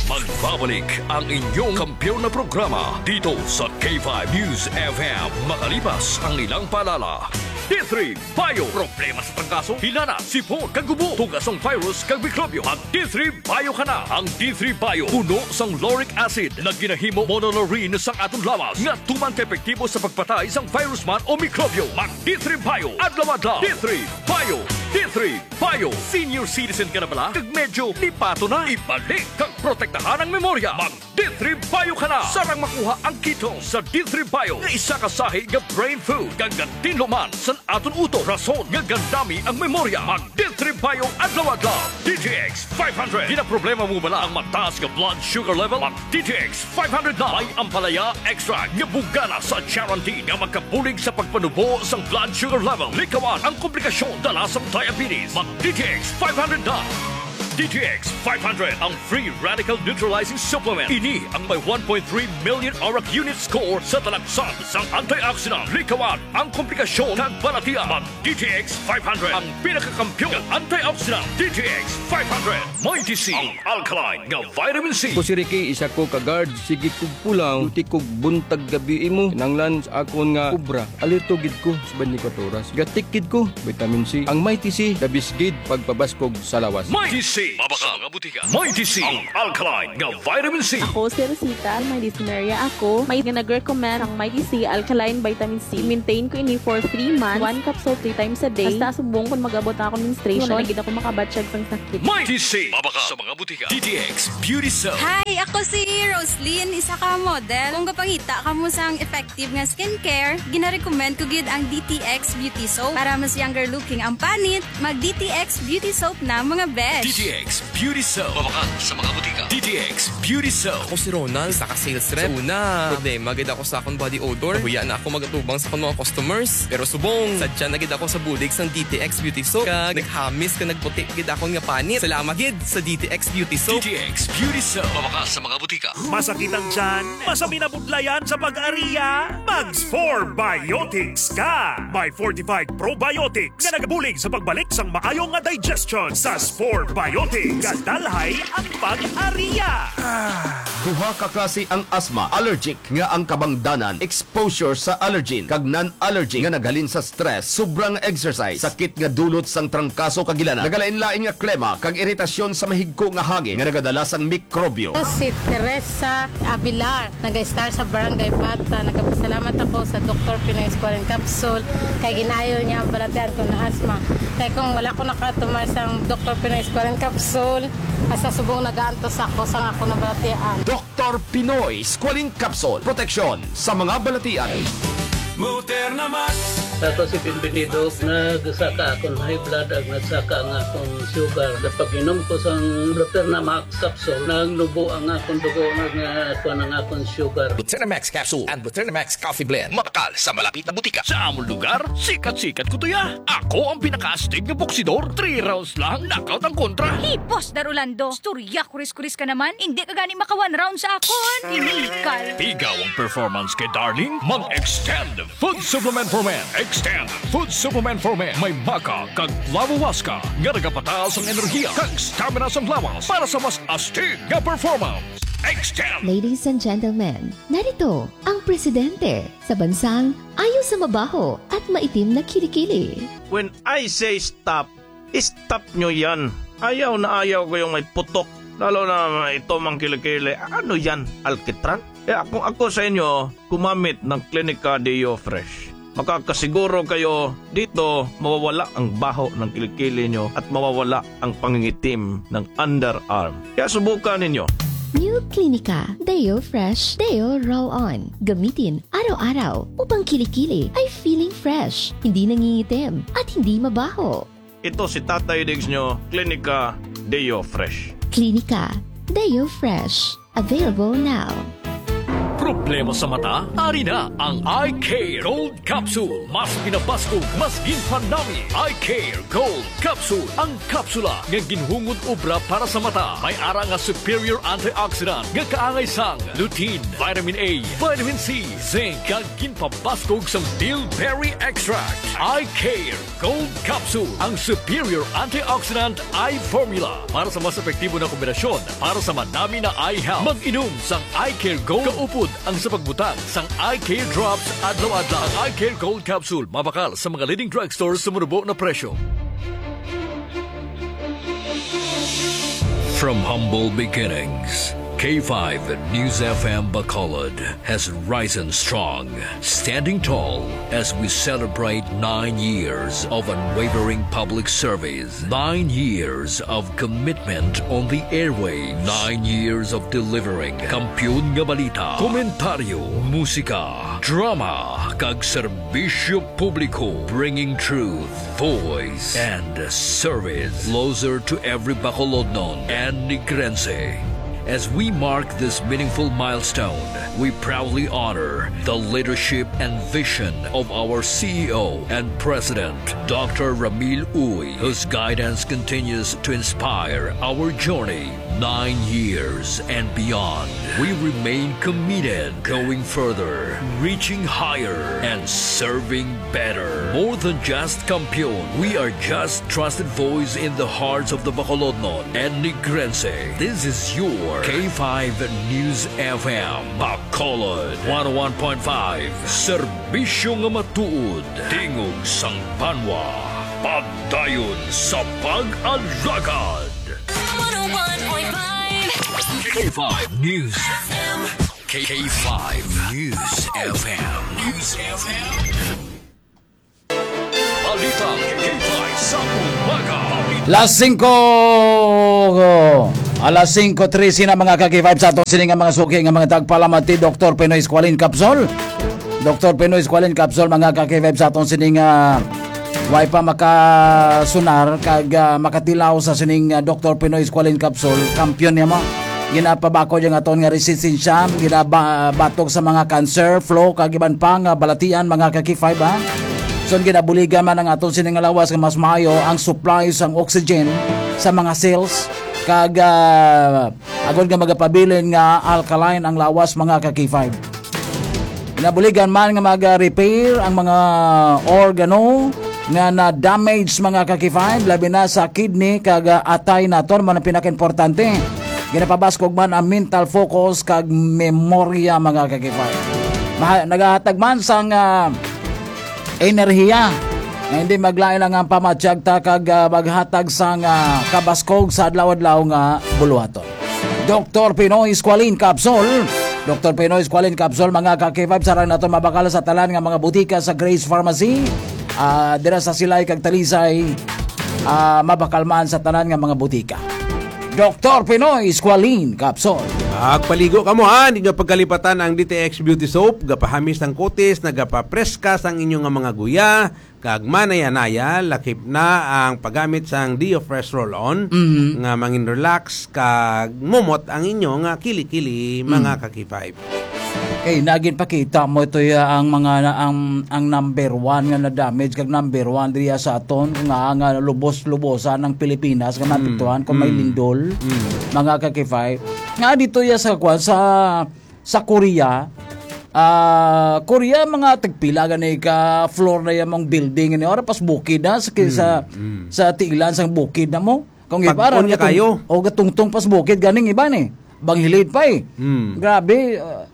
Magbabalik ang inyong kampiyon na programa dito sa K five News F M, makalipas ang ilang paalala. D three Bio. Problema sa trangkaso, hilana, sipon, kag ubo. Tugas sang virus kag mikrobyo. Mag D three Bio ka na. Ang D three Bio puno sang lauric acid nga ginahimo monolaurin sang aton lawas nga tuman ka epektibo sa pagpatay sang virus man o mikrobyo. Mag D three Bio adlaw-adlaw. D three Bio. D three Bio. Senior citizen ka na bala? Kag medyo lipato na? Ibalik kag protektahan ang memorya. Mag D three Bio ka na. Sarang makuha ang ketone sa D three Bio nga isa ka sahi nga brain food kag gatinlo man sa aton utok, rason nga gandami ang memorya. Mag D three Bio adlaw-adlaw. D T X five hundred. Ginaproblema mo bala ang mataas nga blood sugar level? Mag D T X five hundred na. May ampalaya extract nga bugana sa charantin nga makabulig sa pagpanubo sang blood sugar level. Likawan ang komplikasyon dala sang diabetes. Mag D T X five hundred na. D T X five hundred, ang free radical neutralizing supplement. Ini ang may one point three million ORAC unit score sa talaksan sang antioxidant. Likawan ang komplikasyon kag balatian. Mag D T X five hundred, ang pinakakampiyon nga antioxidant. D T X five hundred, Mighty C, ang alkaline nga vitamin C. Ako si Ricky, isa ko ka guard. Sige kog pulaw, duty kog buntag gabi imo. Kinanglan sa akon nga obra. Alerto gid ko sa twenty-four oras. Gatik gid ko, vitamin C. Ang Mighty C, the best gid pagpabaskog sa lawas. Mighty C, mabakal nga butika. Mighty C, ang alkaline nga vitamin C. Ako si Rosita, may dysmenorrhea ako. May nga nag-recommend ang Mighty C alkaline vitamin C. I-maintain ko ini for three months. One capsule three times a day. Hasta subong kung mag-abot na ako menstruation, wala na gid ako makabatyag sang sakit. Mighty C, mabakal sa mga butika. D T X Beauty Soap. Hi, ako si Roslyn, isa ka model. Kung gapangita kamo sang effective nga skincare, ginarecommend ko gid ang D T X Beauty Soap. Para mas younger looking ang panit, mag D T X Beauty Soap na, mga besh. D T X Beauty Soap. Mabakal sa mga butika. D T X Beauty Soap. Ako si Ronald, isa ka sales rep. Sa una, problema gid ako sa akong body odor. Nahuya na ako magatubang sa akong mga customers. Pero subong, sadya na gid ako sa bulig sang D T X Beauty Soap. Kag naghamis ka nagputi gid akon nga panit. Salamat gid sa D T X Beauty Soap. D T X Beauty Soap. Mabakal sa mga butika. Masakit ang tiyan? Masabi na budlayan sa pag-ariya? Mag Spore Biotics ka! May fortified probiotics nga nagabulig sa pagbalik sang maayo nga digestion sa Spore Biotics. Gadalhay ang pag-ariya! Duha ka klase ang asma, allergic nga ang kabangdanan, exposure sa allergen, kag non-allergic nga naghalin sa stress, sobrang exercise, sakit nga dulot sang trangkaso kag ilana, nagalain-lain nga klema, kag iritasyon sa mahigko nga hangin nga nagadala sang mikrobyo. Ako si Teresa Abilar, nag-start sa Barangay Bata. Nagapasalamat ako sa Doktor Pinoy Squalene Capsule kay ginayo niya ang balatian ko na asma. Kay kung wala ko nakatumar sang Doktor Pinoy Squalene Capsule, asa subong nagaantos ako sang ako nabalatian. Doktor Pinoy Squalene Capsule, proteksyon sa mga balatian. Moderna Max. Ako si Bienvenido, nagsaka akong high blood ag nagsaka ang akong sugar. Sa pag-inom ko sang Moderna Max capsule, nagnubo ang akong dugo, nag-, kuwan ang akong sugar. Buternamax capsule and Buternamax coffee blend. Mabakal sa malapit na butika. Sa amon lugar, sikat-sikat ko to ya. Ako ang pinakaastig nga boksidor. Three rounds lang, knockout ang kontra. Hey, Boss Dar Orlando, istorya kuris-kuris ka naman. Hindi ka gani maka one round sa akon. Tinikal. Pigaw ang performance kay Darling. Mag-Extend Food Supplement for Men. Extend Food Supplement for Men. May maca kag flavowaska nga nagapataas ang enerhiya kag stamina sang lawas para sa mas astig nga performance. Extend! Ladies and gentlemen, narito ang presidente sa bansang ayaw sa mabaho at maitim na kilikili. When I say stop, stop nyo yan. Ayaw na ayaw ko yung may putok. Lalo na ito mang kilikili. Ano yan? Alkitran? Kaya kung ako sa inyo, gumamit ng Clinica Deo Fresh. Makakasiguro kayo dito mawawala ang baho ng kilikili nyo at mawawala ang pangingitim ng underarm. Kaya subukan ninyo. New Clinica Deo Fresh Deo Roll On. Gamitin araw-araw upang kilikili ay feeling fresh, hindi nangingitim, at hindi mabaho. Ito si Tatay Diggs nyo, Clinica Deo Fresh. Clinica Deo Fresh. Available now. Problema sa mata? Ari na ang Eye Care Gold Capsule. Mas pinabaskog, mas ginpanami. Eye Care Gold Capsule. Ang kapsula nga ginhungod obra para sa mata. May ara nga superior antioxidant nga kaangay sang lutein, vitamin A, vitamin C, zinc, kag ginpabaskog sang bilberry extract. Eye Care Gold Capsule, ang superior antioxidant eye formula para sa mas epektibo na kombinasyon para sa madami na eye health. Mag-inom sang Eye Care Gold kaupod ang sa pagbutang sang Eye Care Drops adlaw-adlaw. Ang Eye Care Gold Capsule mabakal sa mga leading drugstore sa manubo na presyo. From humble beginnings, K five News F M Bacolod has risen strong, standing tall as we celebrate nine years of unwavering public service, nine years of commitment on the airwaves, nine years of delivering kampiyon nga balita, komentaryo, musika, drama, kag serbisyo publiko, bringing truth, voice, and service closer to every Bacolodnon and Negrense. As we mark this meaningful milestone, we proudly honor the leadership and vision of our C E O and President, Doctor Ramil Uy, whose guidance continues to inspire our journey nine years and beyond. We remain committed, going further, reaching higher, and serving better. More than just kampiyon, we are just trusted voice in the hearts of the Bacolodnon and Negrense. This is your K five News F M, Bacolod, one oh one point five, serbisyo nga matuod, tingog sang banwa, padayon sa pag-alagad. One oh one point five K five News F M. K five News F M. News F M. Balita K five sa umaga. Las singko, alas singko trese na, mga ka-K five, sa aton sini nga mga suki nga mga tagpalamati, Doktor Pinoy Squalene Capsule. Doktor Pinoy Squalene Capsule, mga ka-K five, sa aton sini nga Way pa makasunar kag, ah, makatilaw sa sining, ah, Doktor Pinoy Squalene Capsule, kampiyon niya mo. Ginapabakod ang aton nga resistensya, ginabatok sa mga cancer, flu, kag iban pa nga balatian, mga ka-K five, ha. So, ginabuligan man ang aton sining nga lawas nga mas maayo ang supply sang oxygen sa mga cells, kag, ah, agod nga magapabilin nga alkaline ang lawas, mga ka-K five. Ginabuligan man nga mag-repair ang mga organo nga na-damage, mga ka-K five, labi na sa kidney kag, ah, atay naton, man ang pinakaimportante. Ginapabaskog man ang mental focus kag memorya, mga ka-K five. Maha-, nagahatag man sang, ah, enerhiya nga hindi maglain lang ang pamatyag ta kag, ah, maghatag sang, ah, kabaskog sa adlaw-adlaw nga buluhaton. Doktor Pinoy Squalene Capsule. Doktor Pinoy Squalene Capsule, mga ka-K five, sarang nato mabakal sa tanan nga mga butika sa Grace Pharmacy. Ah, dira sa Silay kag Talisay, ah, mabakal man sa tanan nga mga butika. Doktor Pinoy Squalene Capsule. Magpaligo ka mo, ha? Hindi nyo pagkalipatan ang D T X Beauty Soap. Gapahamis ang kutis, nagapapreska sang inyo nga mga guya. Kag manaya-naya, lakip na ang paggamit sang Dio Fresh Roll-On Mhm. nga mangin relax kag mumot ang inyo nga kili-kili, mga Mm. ka-K five. Kay nagin pakita mo ito ya ang mga na-, ang, ang number one nga na-damage kag number one diya sa aton nga, nga lubos-lubosan ang Pilipinas nga Mm. mapituhan kung may Mm. lindol, Mm. mga ka-K five. Nga dito ya sa kwan, sa sa Korea, ah, Korea, mga tagpila gani ka floor na yung mga building ni ora pas bukid na sa, sa, Mm, mm. sa tiilan sang bukid na mo. Kung Pag-on ibara, niya gatung-, kayo. O gatungtong pas bukid ganing iba ni. Banghilid pa eh. Mm. Grabe, ah,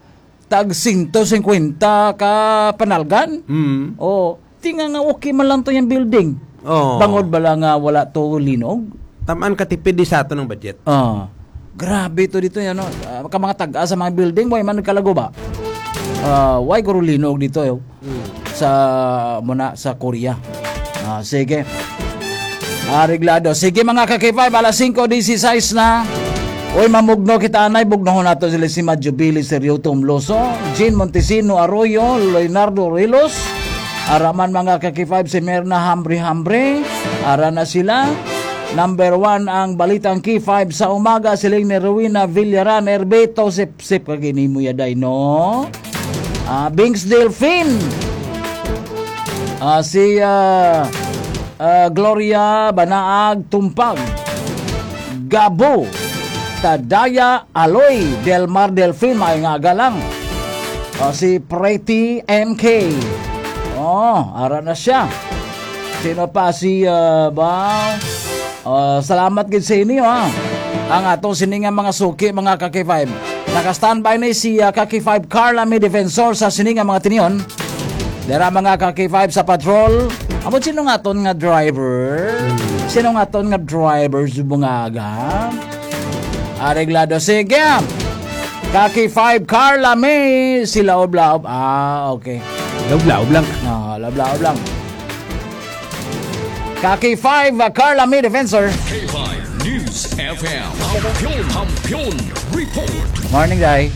tag sento singkwenta ka panalgan. Mm. O, tinga nga okay man lang to yung building. Oo. Bangod bala nga wala to linog? Tamaan ka tipid di sa ato ng budget. Ah, grabe to dito yan, no? Ah, ka mga tag-a sa mga building, mo man nagkalago ba? Ah, why guro linog dito, eh? Mm. Sa, muna, sa Korea. Ah, sige. Areglado. Sige, mga ka-K five, alas singko dieciséis na. Uy, mamugno kita, anay. Bugnohon nato sila si Madjubili Serioto Umloso, Jean Montesino Arroyo, Leonardo Rilos. Araman, mga ka-K five, si Merna Hambre Hambre. Ara na sila. Number one ang Balitang K five sa umaga, siling ni Rowena Villaran, Erbito, sip-sip ka gini mo yaday, no? Ah, Bings Delfin. Ah, si, ah, ah, Gloria Banaag Tumpag. Gabo. Tadaya Aloy Delmar Delfin, may nga aga lang. Ah, si Pretty M K. Oh, ara na siya. Sino pa? Si, ah, ba? Ah, salamat gid sa inyo, ha. Ang ato sini nga mga suki, mga ka-K five. Naka-standby ni si, ah, ka-K five Carla May Defensor sa sini nga mga tinion. Dira, mga ka-K five sa patrol. Amo, sino nga ton nga driver? Hmm. Sino nga ton nga driver sa bungaga? Areglado. Sige. Ka-K five Carla May, si Laob-Laob. Ah, okay. Laob-laob lang. Ah, laob-laob lang. Ka-K five, uh, Carla May Defensor. K five News F M. Kampiyon, Kampiyon Report. Morning, Day.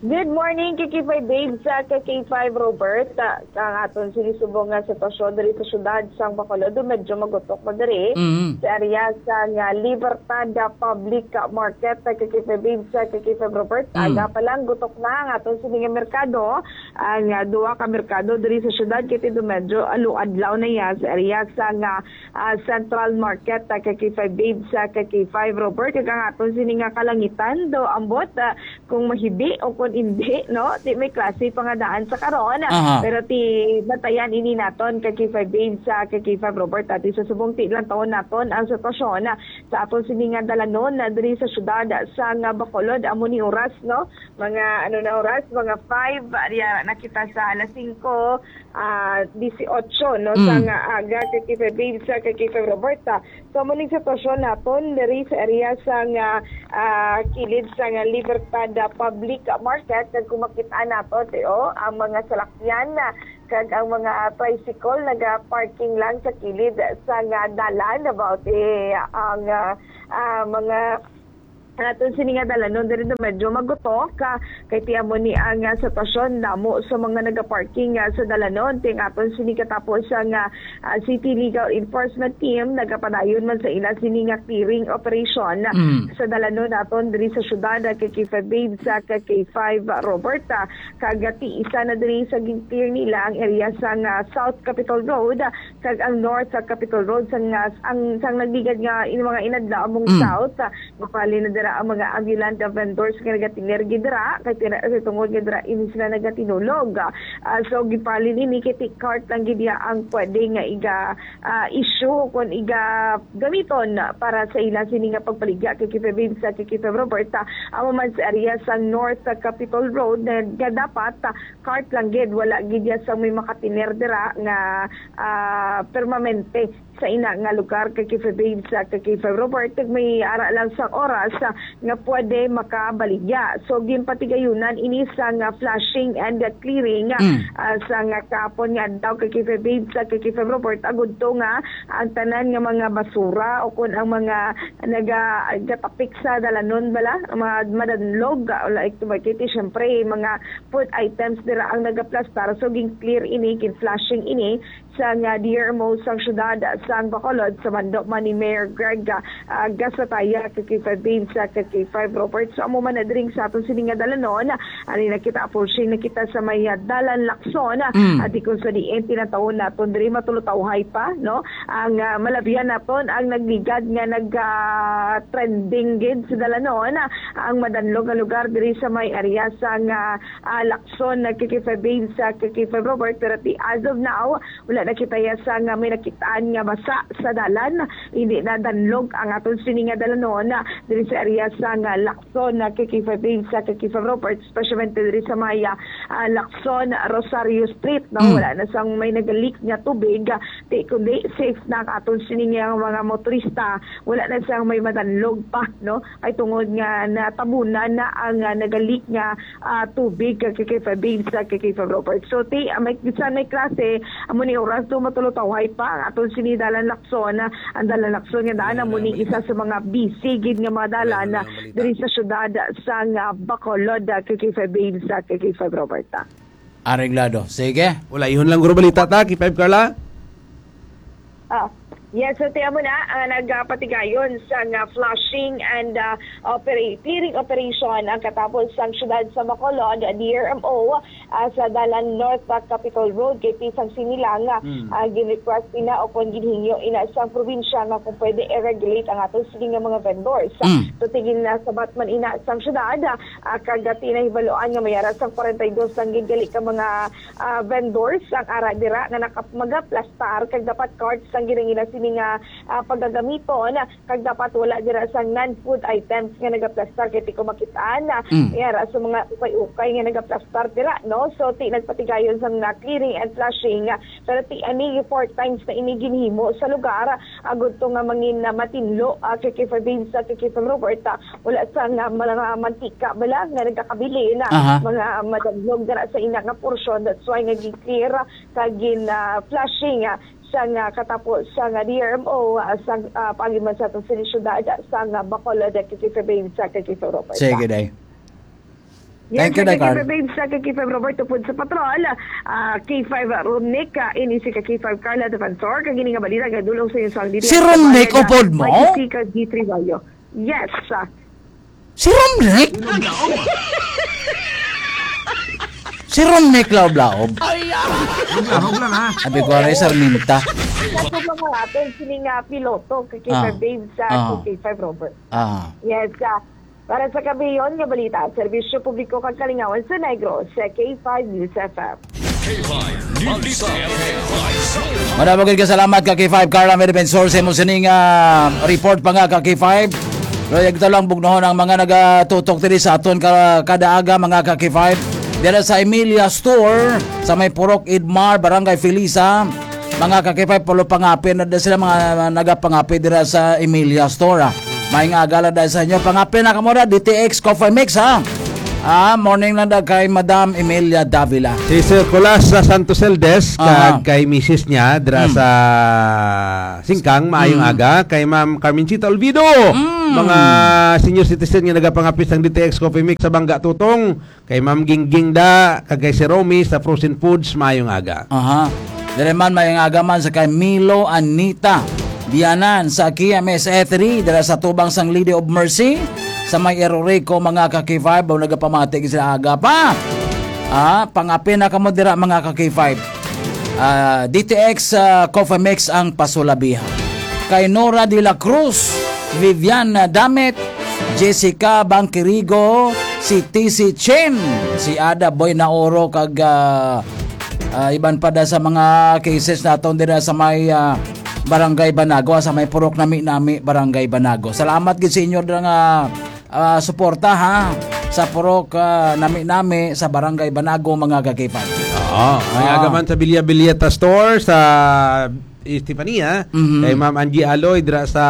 Good morning, K K five Babes, sa K K five Robert. Ah, ang aton sinisubong nga sitwasyon diri sa syudad sang Bacolod, medyo magutok na diri Mm. sa area sang, ah, Libertad, ah, Public Market, ah, K K five Babes, sa K K five Robert. Mm. Aga pa lang, gutok na ang aton sini nga merkado. Ang, ah, duha ka merkado diri sa syudad, kay medyo alo-adlaw na iya sa area sang, ah, ah, Central Market, ah, K K five Babes, sa K K five Robert, kag ang aton sini nga kalangitan daw ambot, ah, kung mahibi o kung hindi, no? Di may klase pa nga daan sa karon. Aha. Pero ti batayan ini naton, K K five Babes, sa K K five Robert, ati sa subong ti lang taon naton ang sitwasyon, ah, sa aton sini nga dalanon, ah, diri sa syudad, ah, sa nga Bacolod, amo ni oras, no? Mga, ano na oras? Mga five, ah, diya na kita sa alas singko, ah, dieciocho, no, sa Mm. nga aga, K K five Babes, sa K K five Roberta. So, amo ning sitwasyon naton diri sa area sa nga, ah, kilid sa nga Libertad, ah, Public Market. Kag kung makita nato, ti, oh, ang mga salakyan na kag ang mga tricycle naga-parking lang sa kilid sa nga dalan. About, eh, ang, ah, ah, mga Ang aton sini nga dalanon diri do medyo magutok, ah, kay ti amo ni ang, ah, sitwasyon, damo sa mga nagaparking, ah, sa dalanon. Ti ang aton sini katapos ang, ah, ah, City Legal Enforcement Team nagapadayon man sa ila sini nga clearing operation, ah, Mm. sa dalanon naton diri sa syudad, ah, kay K five Babes, ah, kay K five, ah, Robert, ah, kag ti isa na diri sa gin-clear nila ang area sang, ah, South Capitol Road, ah, kag ang North, ah, Capitol Road sang, ah, ang sang nagligad nga in mga inadlaw among Mm. South, ah, Gipalin na dira ang mga ambulant vendors nga nagatinergi dira kay tira, kay tungod nga dira ini sila nagatinulog. Ah, so gipalin ini kay ti cart lang gid iya ang pwede nga iga, ah, issue kon iga gamiton para sa ila sini nga pagbaligya kay Kife Babes sa kay Kife Robert. Ah, amo man sa area sa North, ah, Capitol Road na nga dapat, ah, cart lang gid, wala gid iya sa may makatiner dira nga, ah, permanente sa ina nga lugar kay Kife Babes sa kay Kife Robert, kag may ara lang sang oras, ah, nga pwede makabaligya. So, ginpatigayunan ini sa nga flushing and clearing, ah, Mm. ah, sa nga kahapon nga adlaw kay Kife Babes sa kay Kife Robert, agud to nga ang tanan nga mga basura o kun ang mga naga-, gatapik sa dalanon bala, ang mga madanlog, ah, like, tumakiti, syempre, mga food items dira ang nagaplastar. So, gin-clear ini, gin-flushing ini, sang, ah, D R M O sang siyudad sang Bacolod, sa mando man ni Mayor Greg, ah, ah, Gasataya, kay K five Babes, ah, kay K five Robert. So, amo man na diri sa aton sini nga dalanon, ah, ani na kita, approaching na kita sa may, ah, Dalan Lacson, ah, Mm. at kung sa diin tinatawon naton diri, matulutawhay pa, no? Ang, ah, malabihan naton ang nagligad nga nag, ah, trending gid sa dalanon, ah, ang madanlog nga lugar diri sa may area sang, ah, ah, Lacson, ah, kay K five Babes, ah, kay K five Robert, pero ti as of now, wala na kita ya sa nga may nakitaan nga basa sa dalan. Hindi na danlog ang aton sini nga dalanon, ah, diri sa area sa nga Lacson, ah, kay K five Babes, ah, kay K five Robert, especially diri sa may, ah, ah, Lacson, Rosario Street, no? Mm. Wala na sang may nagalik nga tubig, ah, ti kundi safe na ang aton sini nga mga motorista. Wala na sang may madanlog pa, no? Ay tungod nga natabunan na ang, ah, nagalik nga ah, tubig kag kay K five Babes, ah, kay K five Robert. So, ti, ah, may, bisan may klase, amo ni oras do matulutawhay pa ang aton sini Dalan Lacson, ah, ang Dalan Lacson nga daan, amo ni isa sa mga busy gid nga mga dalan, ah, diri sa syudad sang, ah, Bacolod, ah, kay K five Babes, ah, kay K five Robert, ah. Areglado. Sige. Wala, ihon lang guro balita ta, K five Carla. Ah, yes, so tiyan mo na, ah, nagapatigayon sa nga flushing and, ah, opera-, clearing operation ang katapos sang syudad sa Bacolod, D R M O, ah, sa dalan North, ah, Capitol Road, kay ti sang sini lang, ah, Mm. ah, gin-request ina o kung ginhingyo ina sang probinsya nga kung pwede i-regulate ang ato sini nga mga vendors. Mm. So, tigin na sabat man ina sang syudad, ah, kag ti nahibaluan nga may ara sang forty-two lang gid gali ka mga ah, vendors ang ara dira nga naka-, magaplastar kag dapat cards ang ginangina sini nga, ah, pagagamiton, kag dapat wala dira sang non-food items nga nagaplastar kay ti ko makitaan na Mm. may ara sa mga ukay-ukay nga nagaplastar dira, no? So, ti nagpatigayon sa mga clearing and flushing, ah, pero ti ani four times na ini ginhimo sa lugar, agud to nga mangin na matinlo, ah, kay Kifa Beans, ah, kay Kifa Robert, ah, wala sa nga mga mantika bala nga nagakabilin, ah, Aha. mga madagnog dira sa ina nga porsyon. That's why nga gi-clear, ah, kag gin, ah, flushing, ah, sa nga katapo sa nga D R M O, ah, sa, ah, paagi man sa atong sini syudad, ah, sa nga Bacolod, ah, kay Kifa Beans, ah, kay Kifa Robert. Sige, day. Yes, Thank you, kay Day Carl. Kifa Beans, ah, kay Kifa Robert, upod sa patrol, ah, K five Romnick, ah, ini si ka K five Carla Defensor, kag ini nga balita nga dulong sa inyo sa ang diri Si sa Romnick, Bacolod, ah, upod mo? May G C kag G three Bayo. Yes, ah. Si Romnick? Si Romnick Laob-Laob. Ay, ah! Huwag lang, huwag lang, ha? Sabi ko, "Aray, Sarminta." Ako ba nga aton sini nga piloto, kay K five Ah. Babes, sa Ah. K five Robert? Ah. Yes, ah. Para sa kabiyon nga balita, serbisyo publiko kag kalingawan sa Negros, sa K five News F M. K five News F M. Madamo gid ka salamat ka K five Carla Medipensor sa imo sining, ah, report pa nga ka K five. Pero yagta lang bugnohon ang mga nagatutok diri sa aton ka-, kada aga, mga ka K five. Dira sa Emilia Store, sa may Purok Idmar, Barangay Felisa, mga ka K five, pulo pangapin na sila, mga nagapangapin dira sa Emilia Store, ah. May nga agala dahil sa inyo, pangapin na kamo na, D T X Coffee Mix, ha? Ah, morning lang da kay Madam Emilia Davila. Si Sir Colas sa Santos Eldes, Aha. kag kay misis niya, dira Mm. sa Singkang, maayong Mm. aga. Kay Ma'am Carmencita Olvido, Mm. mga senior citizen nga nagapangapit sang D T X Coffee Mix sa Bangga Tutong. Kay Ma'am Gingging da, kag kay si Romy sa Frozen Foods, maayong aga. Aha. Diri man, maayong aga man sa kay Milo Anita Bianan sa K M S A three, dira sa tubang sang Lady of Mercy, sa may Erorico, mga ka-K five, o nagapamati sila aga pa. Ah, pangapin na kamo dira, mga ka-K five. Ah, D T X, ah, Coffee Mix ang pasulabihan. Kay Nora de la Cruz, Vivian Damit, Jessica Bangkirigo, si T C Chin, si Ada Boy Naoro, kag, ah, ah, iban pa da sa mga cases naton dira sa may, ah, Barangay Banago, sa may Purok Nami-Nami, Barangay Banago. Salamat gid sa inyo dira nga, ah, suporta, ha, sa Purok, ah, Nami-Nami sa Barangay Banago, mga ka-K five. Oo, may Ah. agaman sa Bilya Bilyeta Store sa Estefania, Mhm. kay Ma'am Angie Aloy dira sa,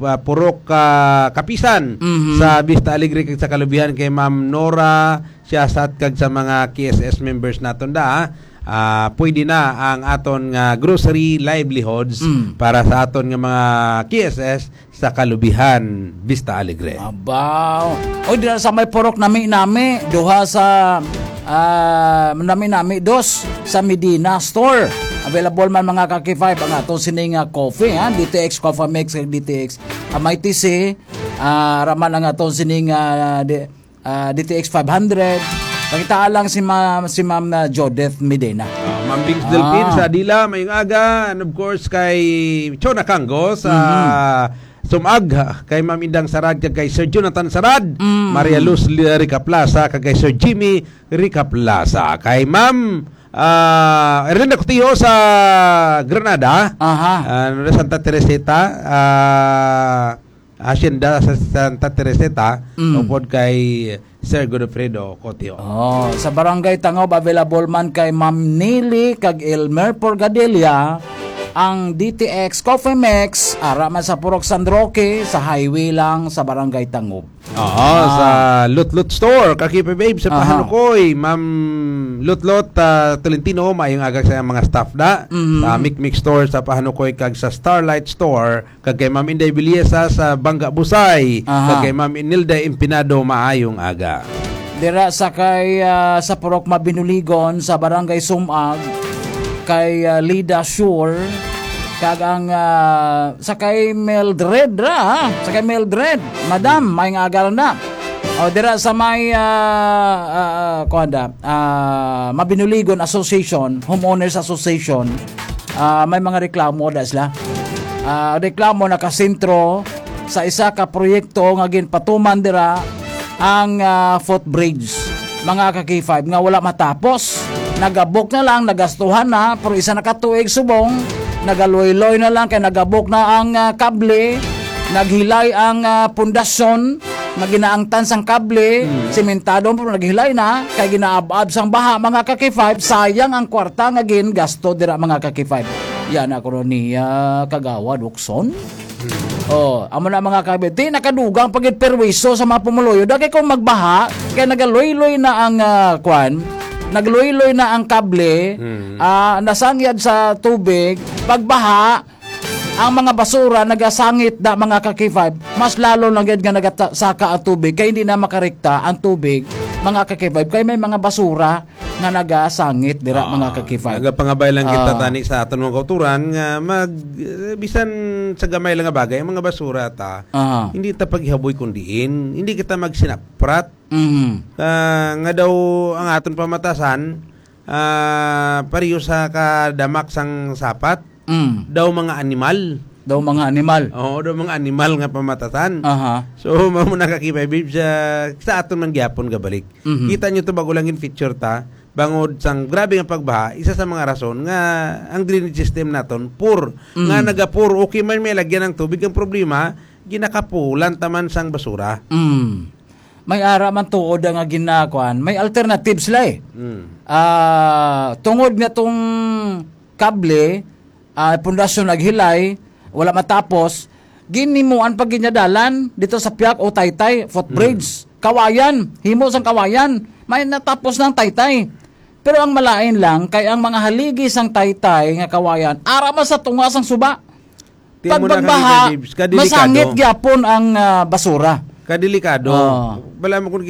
ah, Purok, ah, Kapisan, Mhm. sa Vista Alegre, kag sa kalubihan kay Ma'am Nora Siasat, kag sa mga K S S members naton da, ah, pwede na ang aton nga grocery livelihoods Mm. para sa aton nga mga K S S sa kalubihan, Vista Alegre. Abaw. Oy, dira sa may Purok Nami-Nami, duha sa, ah, Nami-Nami, dos sa Medina Store. Available man, mga ka-K five, ang aton sini nga coffee, ha? D T X Coffee Mix kag D T X, ah, may T C, ah, raman ang aton sini nga, di, ah, D T X five hundred. Pakitaa lang si Ma-, si Ma'am, ah, Jodeth Medina. Ah, Ma'am Bings Ah. Delfin sa Dila, mayong aga. And of course, kay Chona Kango sa Mhm. Sumag, ha, kay Ma'am Indang Sarad, kag kay Sir Jonathan Sarad, Mm. Maria Luz Li-, Rica Plaza, kag kay Sir Jimmy Rica Plaza. Kay Ma'am, ah, Erlinda Cotio sa Granada, Aha. ah, Santa Teresita, ah, Hacienda sa Santa Teresita, Mm. upod kay Sir Godofredo Cotio. Oh, sa Barangay Tangob, available man kay Ma'am Nili kag Elmer Porgadilla ang D T X Coffee Mix, ara man sa Purok San Roque, sa highway lang sa Barangay Tangob. Oo, Ah. sa Lutlot Store, Kakipe Babe, sa Aha. Pahanukoy, Ma'am Lutlot, ah, Tolentino, maayong aga sa mga staff da. Mhm. Sa Mikmik Store sa Pahanukoy kag sa Starlight Store, kag kay Ma'am Inday Biliesa sa Bangga Busay, Aha. kag kay Ma'am Inilda Empinado, maayong aga. Dira sa kay, ah, sa Purok Mabinuligon sa Barangay Sumag, kay, ah, Lida Sure, kag ang, ah, sa kay Mildred ra, ha? Sa kay Mildred, Madam, may nga agaran na. O, dira sa may, ah, ah, ah, kuwan da, ah, Mabinuligon Association, Homeowners Association, ah, may mga reklamo da sila. Ah, reklamo nakasentro sa isa ka proyekto nga ginpatuman dira ang, ah, footbridge, mga ka-K five, nga wala matapos. Nagabok na lang, nagastuhan na, pero isa na ka tuig subong, nagaluy-luy na lang kay nagabok na ang, ah, kable, naghilay ang, ah, pundasyon, nga ginaangtan sang kable, Mm. simentado, pero naghilay na, kay ginaab-ab sang baha, mga ka-K five, sayang ang kwarta nga gingasto dira, mga ka-K five. Yan ako ron niya, Kagawad Ukson. Hmm. Oh, amo na, mga ka-K five. Di nakadugang pagid perwiso sa mga pumuluyo. Dagay kung magbaha, kay nagaluy-luy na ang, ah, kwan, nagluy-luy na ang kable, Hmm. ah, nasangyad sa tubig, pagbaha, ang mga basura nagasangit na, mga ka-K five, mas lalo lang gid nga nagasaka ang tubig, kay hindi na makarekta ang tubig, mga ka-K five, kay may mga basura nga nagasangit dira, Ah, mga ka-K five. Nagapangabay lang kita Ah. tani sa aton mga kauturan nga mag, eh, bisan sa gamay lang nga bagay, ang mga basura ta, Ah. hindi ta paghihaboy kun diin, hindi kita magsinaprat. Mhm. Ah, nga daw ang aton pamatasan, ah, pareho sa kadamak sang sapat, Mm. daw mga animal. Daw mga animal. Oo, daw mga animal nga pamatasan. Aha. So, mao na, ka-K five Babes, sa, sa aton man gyapon gabalik. Mhm. Kita nyo to, bago lang in feature ta, bangod sang grabe nga pagbaha, isa sa mga rason nga ang drainage system naton poor, Mm. nga nagapuro, okay man may lagyan ng tubig, ang problema, ginakapulan taman sang basura. Mm. May ara man tuod nga ginakuan, may alternative sila eh. Mm. Ah, tungod nga tong kable, ah, pundasyon naghilay, wala matapos, Ginimuan pa gid niya dalan dito sa Piak o Taytay footbridge. Kawayan, himo sang kawayan, may natapos ng Taytay. Pero ang malain lang kay ang mga haligi sang Taytay nga kawayan ara man sa tunga sang suba. Pag magbaha, masangit gyapon ang, ah, basura. Kadelikado. Oo. Wala mo kung